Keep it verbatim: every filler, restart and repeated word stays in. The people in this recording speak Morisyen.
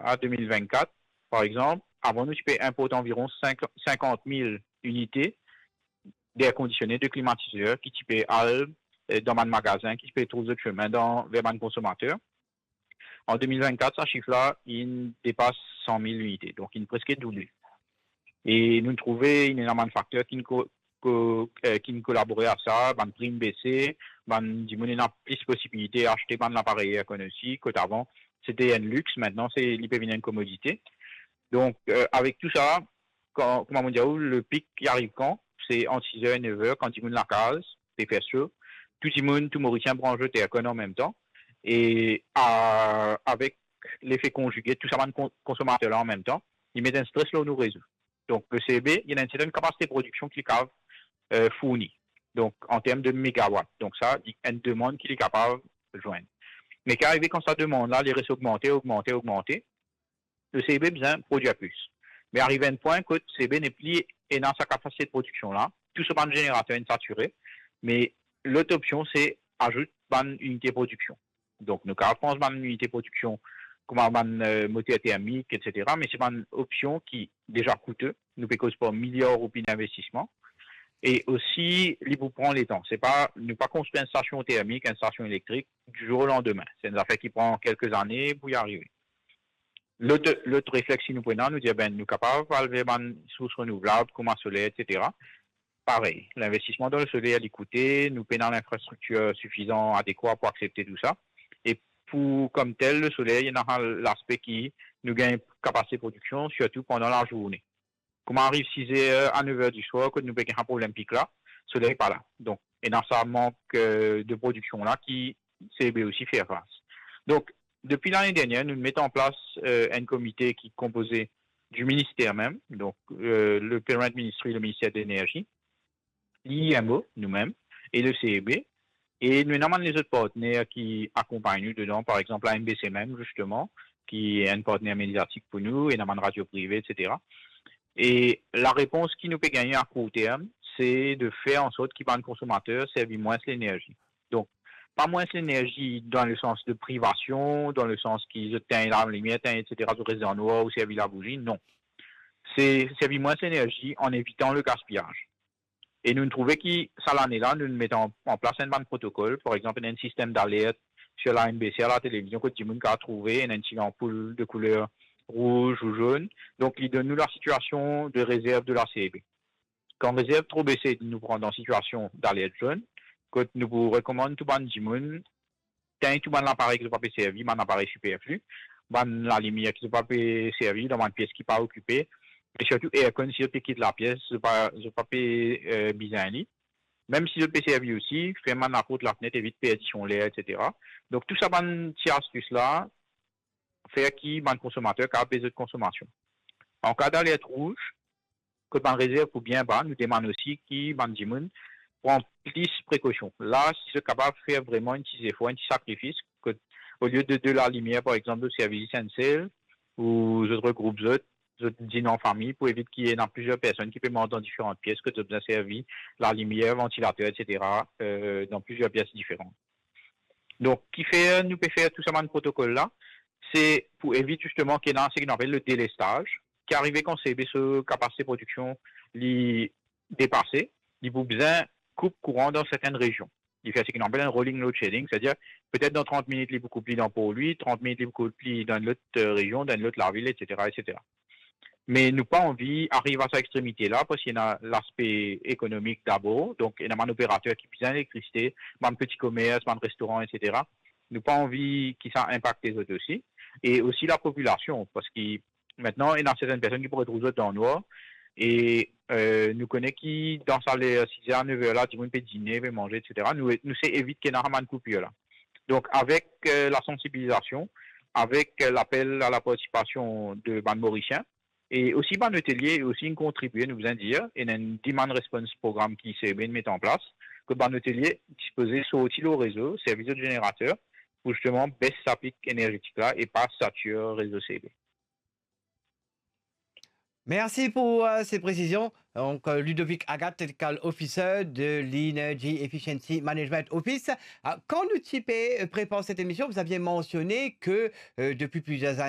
a de mil vennkat, par exanp, avan nou ti pe inport anviron sink, sinkant mil inite d'air kondisione, de klimatizer ki ti pe al, eh, dan bann magazin, ki ti pe trouv zot semin dan, ver bann konsomater. An de mil vennkat, sa sif la, inn depas san mil inite, donk inn preske double. E nou trouve inn ena bann fakter ki'nn ko-, ko-, eh, ki'nn kolabore a sa, bann pri inn bese, bann dimoun ena plis posibilite aste bann laparey air conditioning, kot avan, sete enn lix, mintnan, se, li pe vinn enn komodite. Donk, eh, avek tou sa, kan, kouma mo dir ou, le pik, li ariv kan? Se ant sis er e nef er, kan dimoun lakaz pe fer so, tou dimoun, tou Morisien branz zot aircon an mem tan, e, a, avek lefe konzige tou sa bann kon-, konsomater la an mem tan, li met enn stres lor nou rezo. Donk, le C E B, li ena enn sertenn kapasite prodiksion ki li kapav, eh, fourni. Donk, an term de megawat. Donk, sa, li enn demann ki li kapav zwenn. Me ki arive kan sa demann la, li res ogmante, ogmante, ogmante, le C E B bizin prodwir plis. Me ariv enn pwin kot C E B nepli ena sa kapasite de prodiksion la, tou so bann zenerater inn satire, me lot opsion se azout bann inite prodiksion. Donk, nou kapav pran bann inite prodiksion kouma bann, eh, moter termik, et cetera, me se bann opsion ki deza koute. Nou pe koz par miliar roupi dinvestisman. E osi, li pou pran letan. Se pa, nou pa konstri enn stasion termik, enn stasion elektrik, di zour o landime. Se enn zafer ki pran kelke zane pou li arive. Lot, lot reflex ki nou pran, nou dir, ben, nou kapav al ver bann sours renouvlab, kouma soler, et cetera. Parey, linvestisman dan le soler, li koute, nou pena linfrastriktir sifizan, adekwa pou aksepte tou sa. E pou, kom tel, le soler, li ena laspe ki nou gagn kapasite prodiksion, sirtou pandan lazourne. Kouma ariv sis er a nef er diswar, kot nou pe gagn problem pik la, soley pa la. Donk, ena sa mank, eh, de prodiksion la ki C E B osi fer fas. Donk, depi lane dernie, nou met an plas, eh, enn komite ki konpoze di minister mem, donk, eh, le parent ministry, le minister de lenerzi, l'I M O, nou mem, e le C E B, e nou ena bann lezot partner ki akonpagn nou dedan, par exanp, la M B C mem, zisteman, ki enn partner mediatik pou nou, ena bann radio prive, et cetera. E larepons ki nou pe gagne a kour term, se de fer an sort ki bann konsomater servi mwins lenerzi. Donk, pa mwins lenerzi dan le sans de privasion, dan le sans ki zot tegn lalimier, tegn, et cetera, zot res dan nwar ou servi labouzi, non. Se servi mwins lenerzi an evitan le gaspiyaz. E nou trouve ki sa lane la, nou met an, an plas enn bann protokol, par exanp, enn, enn sistem d'alert sir la M B C a la televizion, kot dimoun kapav trouve enn, enn ti lanpoul de kouler rouz ou zonn. Donk, li donn nou lasitiasion de rezerv de la C E B. Kan rezerv tro bese, nou pran dan sitiasion d'alert zonn, kot nou pou rekomann tou bann dimoun tegn tou bann laparey ki zot pa pe servi, bann laparey siperfli, bann lalimier ki zot pa pe servi dan bann pies ki pa okipe, e sirtou aircon, si zot pe kit lapies, zot pa, zot pa pe, eh, bizin li. Mem si zot pe servi osi, ferm bann laport, lafnet, evit perdi son ler, et cetera. Donk, tou sa bann ti astis la, fer ki bann konsomater kapav bes zot konsomasion. An ka d'alert rouz, kot bann rezerv pou bien ba, nou demann osi ki bann dimoun pran plis prekosion. La, si zot kapav fer vreman enn ti zefor, enn ti sakrifis, kot olie de, de lalimier, par exanp, zot servi zis enn sel, ou zot regroup zot, zot dinn an fami, pou evit ki ena plizier personn ki pe manz dan diferan pies, kot zot bizin servi lalimier, vantilater, et cetera, eh, dan plizier pies diferan. Donk, kifer nou pe fer tou sa bann protokol la, se pou evit zisteman ki ena seki nou apel le delestaz, ki arive kan C E B so kapasite prodiksion li depase, li pou bizin koup kouran dan sertenn rezion. Li fer seki nou apel enn rolling load shedding, setadir petet dan trant minit li pou koup li dan Porlwi, trant minit li pou koup li dan enn lot, eh, rezion, dan enn lot lavil, et cetera, et cetera. Me nou pa anvi ariv a sa extremite la, parski ena laspe ekonomik dabor, donk ena bann operater ki bizin elektrisite, bann peti komers, bann restoran, et cetera. Nou pa anvi ki sa inpakte zot osi. E osi lapopilasion, parski mintnan, ena sertenn personn ki pou retrouv zot dan nwar, e, eh, nou kone ki dan sa ler, sis er a nef er la, dimoun pe dine, pe manze, et cetera. Nou, nou se evit ki ena sa bann koupir la. Donk, avek, eh, lasansibilizasion, avek, eh, lapel a lapartisipasion de bann Morisien, e osi bann otelie osi inn kontribie, nou bizin dir, ena enn demand response program ki C E B inn met an plas, kot bann otelie dispoze sorti lor rezo, servi zot zenerater, pou zisteman bes sa pik enerzetik la e pa satir rezo C E B. Mersi pou, eh, se presizion. Donk, eh, Ludovic Agathe, Technical Officer de l'Energy Efficiency Management Office. Ah, kan nou ti pe, eh, prepar set emision, vous aviez mentionné que, eh, depuis plusieurs